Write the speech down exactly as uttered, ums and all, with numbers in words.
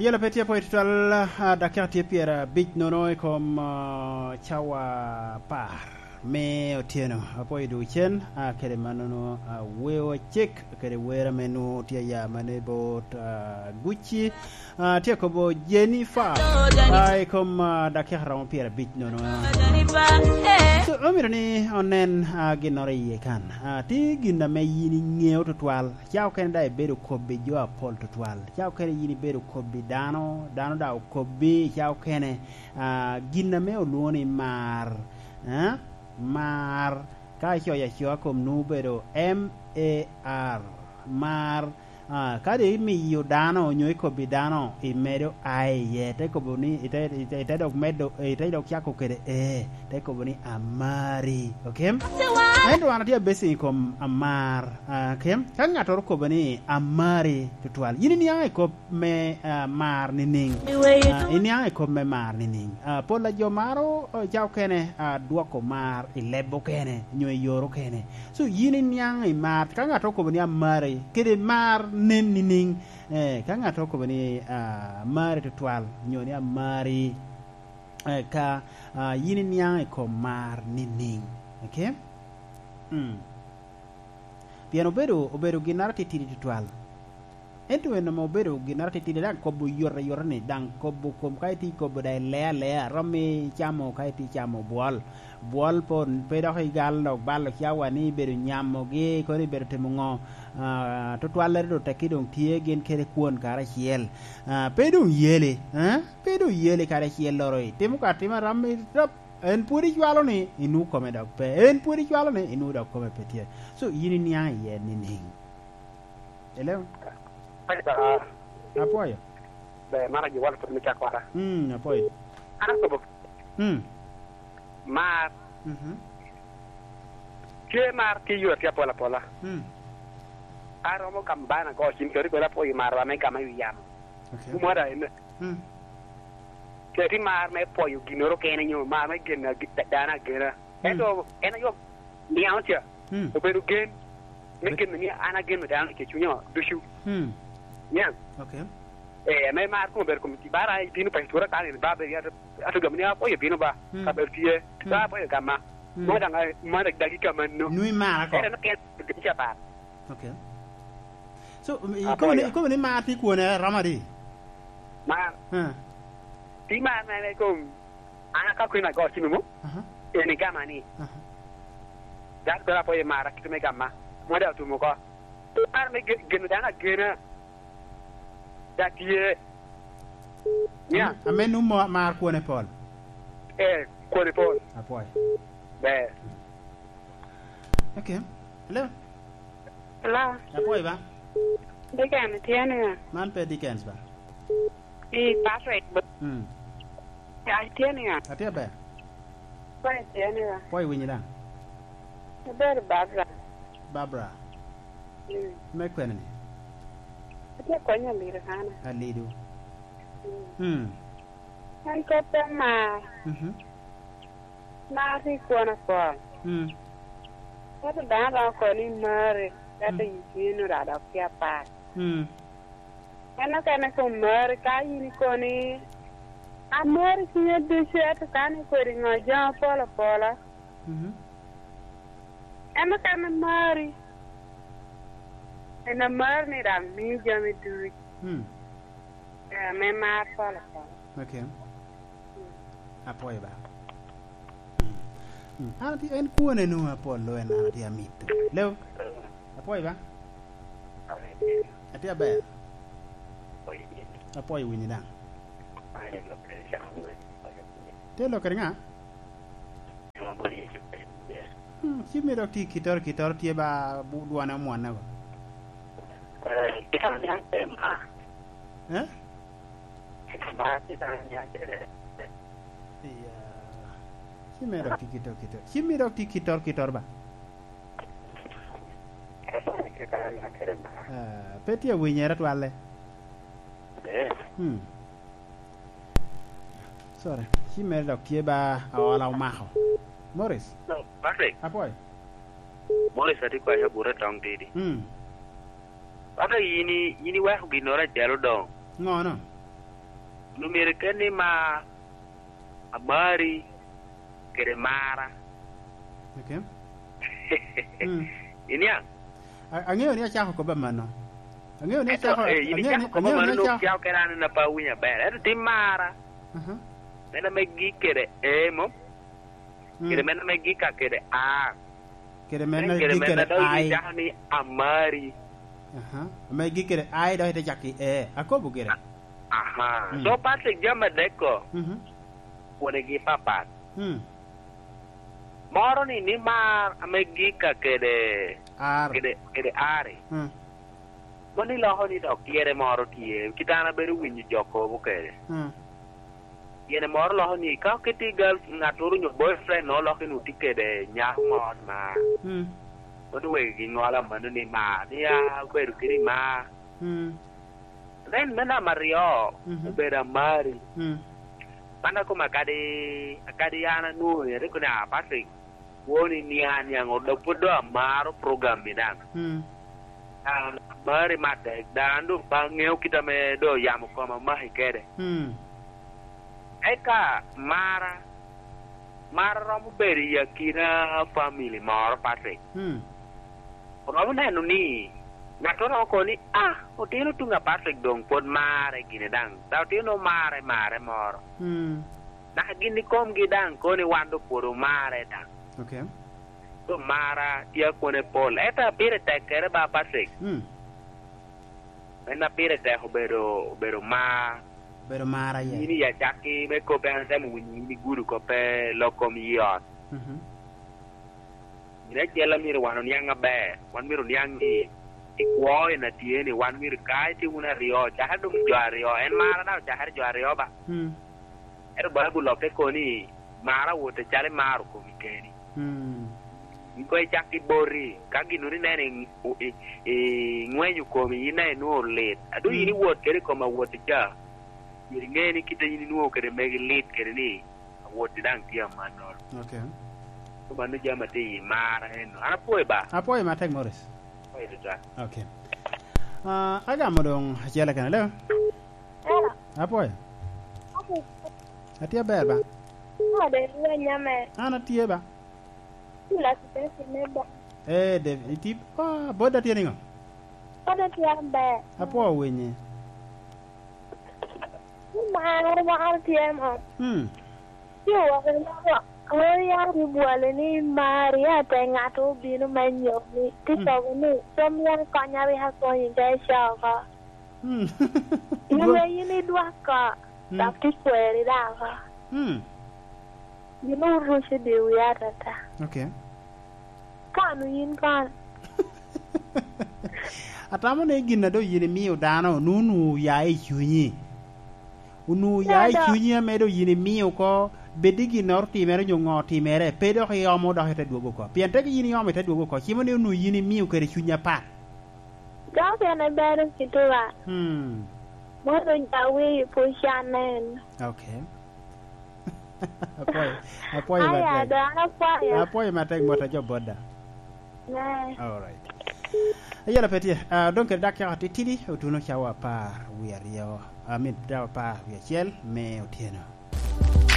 Yela pe tye apwoyo tutwal, ah, dakika tye pyerabic nono i kom, ah, cawa apar me otyeno. Apwoyo ducen, ah, kede mannono, ah, weo cik kede wer ame nwoŋo tye aya mane bot, ah, Gucci. Ah, tye kobo Jennifer, ah, i kom, ah, dakika romo pyerabic nono. So, omito ni onen, ah, ginnoro iye kan. Ah, tye gin ame yin iŋeo tutwal. Ca okene daŋ ibedo kobbi jo apol tutwal. Ca okene yin ibedo kobbi dano, dano daŋ okobbi, ca okene, ah, gin ame olwoŋo ni mar, eh? Mar, ka icoyo acoa kom nwoŋo obedo M A R, mar, ah, ka doŋ imiyo dano onyo ikobbi dano, imedo I iye, te kobo ni, ite, ite, ite dok medo, ite dok cako kede E, te kobo ni amari, ok? Ento an atye abase i kom amar, ah, ok? Ka ŋattoro okobo ni amari tutwal, yin iniaŋ i kop me, ah, mar nining? Ah, iniaŋ i kop me mar nining? Ah, pol a jo maro, ah, ca okene, ah, dwoko mar i leb okene, nyo i yor okene. So, yin iniaŋ i mar, ka ŋattoro okobo ni amari, kede mar nen nining? Eh, ka ŋattoro okobo ni, ah, amari tutwal, nyo ni amari, eh, ka, ah, yin iniaŋ i kom mar nining? Ok? Mm. Pien obedo, obedo ginnoro atitidi tutwal. Ento en ame obedo ginnoro atitidi, daŋ kobo yot ayota ni, daŋ kobo kom ka itye kobo daŋ ilea alea, romo icamo ka itye camo bwol. Bwol po, pe dok igal dok balo cawa ni ibedo nyamogi, kono ibedo timo ŋo? Ah, tutwallere doŋ tekki doŋ tye gin kede kwon karacel. Ah, pe doŋ yeli, eh? Pe doŋ yeli karacel loro itimo ka atima ram irap, en pwod icwalo ni inwoŋo kome dok pe, en pwod icwalo ni inwoŋo dok kome pe tye. So, yin iniaŋ iye nining? Hello? Apwoyo. Ber, man ajo walo pwod me cakwara. Mm, apwoyo. An akobo. Mm. Mar. Mhm. Tye mar tye yore tye apol apola. Mm. Aromo gamo bana go cim keri kwena apwoyo mar wa me gama i wi yamo. Okay. Mwada ene. Mm. Keti mar me pwoyo ginnoro kene nyo mar me geno agi-, da-, dano agena. Mm. Ento en ayo niaŋ ca. Mm. Obedo gen. Me Be- geno ni an ageno dano i cunya ducu. Mm. Niaŋ. Okay. Eh, ame mar kuma obedo kom bara ibino pa itura kan in ba be ato, ato gamo ni apwoyo bino ba. Mm. Kabedo tye. Mm. Ba apwoyo gama. Mm. Mo daŋ, mo daŋ dagi ka manno. Nwi mara ko. Ere no ken, ca par. Okay. So, um, ikobo ni, Apoya. Ikobo ni mar tye kwone romo adi? Mar. Eh. Tye mar na en kom, an aka kwena ago cim mo, aha, en igama ni. Aha. Dok bera apoyo mar akito me gama. Mwada otum oko. Mar me ge-, geno dano agena. Da tye. Nya. Ame, ame num mo mar kwone pol. Eh, kwone pol. Apoyo. Ber. Okay. Hello? Hello? Apwoyo ba? Dickens, itye niya? Man pe Dickens ba? I Patrick. Mm. Ya, itye niya? Atye ber. Apwoyo, itye niya? Apwoyo, winyi daŋ. Abedo Barbara. Barbara. Mm. Me kwene ni? Atye konyo Amerikana. Alido. Mm. Mm. En kop pe mar. Mhm. Mar tye kwon apol. Mm. Ento dano romo kobo ni mari, ento, mm, i cunye nwoŋo dok tye apak. Mm. En okene kom mari, ka in ikobo ni, "Amari cwinya ducu," ento ka ni kodi ŋo jami apol apola. Mhm. En okene mari. En amari ni daŋ mii jami ducu. Mm. Eh, me mar pol apol. Okay. Mm. Apwoyo ba. Mm. Mm. An atye, en kwone nwoŋo apol lo en an atye amito. Leo. Apwoyo ba. Atye aber. Apwoyo winyi daŋ. Tye lokere ŋa? Hmm, ci mi dok tye i kittoro, kittoro tye ba bu-, dwone omwonne ko. Eh? Iya. Ci mi dok tye kittoro, kittoro. Ci mi dok tye kittoro, kittoro ba. Ah, pe tye awinyere twalle. Hmm. Sorry. Ci mere dok tye ba aola omako. Morris. Hello, Patrick. Apwoyo. Morris atye kwayo abute tong tidi. Hmm. Patrick, yin i-, yin iweko ginnoro acel odoŋ. Ŋono? Onwoŋo myero iket ni ma amari kede mara. Okay. Mm. Iniaŋ? A-, aŋeo ni acako kobba mano. Aŋeo ni Ento, acako, eh, in aŋeo ni, icako kobba aŋeo ni mano, acako. Nwoŋo cako kede an na pe awinyo aber. Ento tim mara. Aha. Men ame gik kede emo. Mm. Kede men ame gik ka kede a. Kede men ame gik kede dok ai. Icako ni amari. Aha. Ame gik kede ai dok ite cak i e. Akobo gire. Aha. Mm. So, Patrick, jami adek-ko, mhm, kwonegi papat. Mm. Moro ni, ni mar ame gik ka kede, ar, kede, kede ari. Mm. Mano iloko ni dok tyere moro tye, kit an abedo winyo jo kobo kede. Mm. Tyene moro loko ni, ka oketi girl, ŋattoro onyo boyfriend, no, oloko ni otye kede nyako moro ma, mm, mano wegi giŋolo amano ni ma, ni a obedo kede ma. Mm. Then me namba aryo, mhm, obedo amari. Mm. Man akoma kadi, kadi an anwoŋo, ate kono ni, "Ah, Patrick, kwoni niaŋ niaŋ, dok pwod doŋ amaro program-mi daŋ." Mm. An amari matek, daŋ an doŋ pe aŋeo kit ame doŋ yamo koma omaki kede. Mm. Eka mara, mara romo bedo i akina family moro, Patrick. Mm. Oromo neno ni ŋattoro romo kobo ni, "Ah, otino tuŋ a Patrick doŋ pwod marre gine daŋ. Daŋ otino marre, marre moro." Mm. Naka gin ikomgi daŋ kobo ni wan doŋ pwod omarre daŋ. Okay. Doŋ mara tye akwone pol. Ento a pire tekkere ba, Patrick. Mm. En a pire tek obedo, obedo mar. Obedo mar aye. Yin i acakki me kop, en atemo winyo yin igudo koppe lok kom yi ot. Mhm. Gin acel a myero wan oniaŋ aber. Wan myero oniaŋ ni i kwo en a tye ni wan myero ka itye wun aryo, cakere doŋ jo aryo. En mara daŋ ocakere jo aryo ba. Mm. Ento Baibul olokke kono ni, "Mar awot acalo imaro komi keni." Mm. In koŋ icak i boti, ka ginnoro ineno i, i, i ŋwenyo komi, in daŋ inwoŋo lit. A doŋ yin, mm, iwot kede i kom awot ca, myero iŋe ni kite yin inwoŋo kede megi lit kede ni, awot daŋ tye amannoro. Okay. So mano jami atye i mar eno. An apwoyo ba. Apwoyo matek, Morris. Apwoyo tutwal. Okay. Ah, agamo doŋ acel kene, alo? Hello. Apwoyo. Atye aber ba. Ode lweny ame. An atye ba. Cula kitesi me ba. Eh, David, itye, ah, boda tye niŋo? Boda tye aber. Apwoyo winyi. Mar, mar tye mo. Hmm. Ci owako ni, "Ŋo ya ri bwale ni mari ate ŋato obino me nyommi?" Ci, hmm, kobo ni, "Pe myero konya, rik akonyi ka ico oko." Hmm. Nwoŋo in idwak oko, hmm, dok ti kweri daŋ oko. Hmm. Gin oruco i dye wi atata. Okay. Kano yin kono. Atamo ni gin a doŋ yin imio dano, onwoŋo onwoŋo oya i cunyi. Onwoŋo oya i cunyi ame doŋ yin imio oko, bed ni ginnoro otimere onyo ŋo otimere, pe dok iomo dok ite dwogo oko. Pien teke yin iomo ite dwogo oko, cimo ni onwoŋo yin imio kede cunyi apat. Dok en ebero kite wa. Hmm. Mono doŋ ja wiyi pwod can en. Okay. Apwoyo, apwoyo matek. Aya, doŋ an apwoyo. Apwoyo matek mot a jo boda. Ne. All right. Ayela pe tye. Ah, doŋ kede dakika titidi, otuno cawa apar wie aryo. I mean, cawa apar wie acel me otyeno.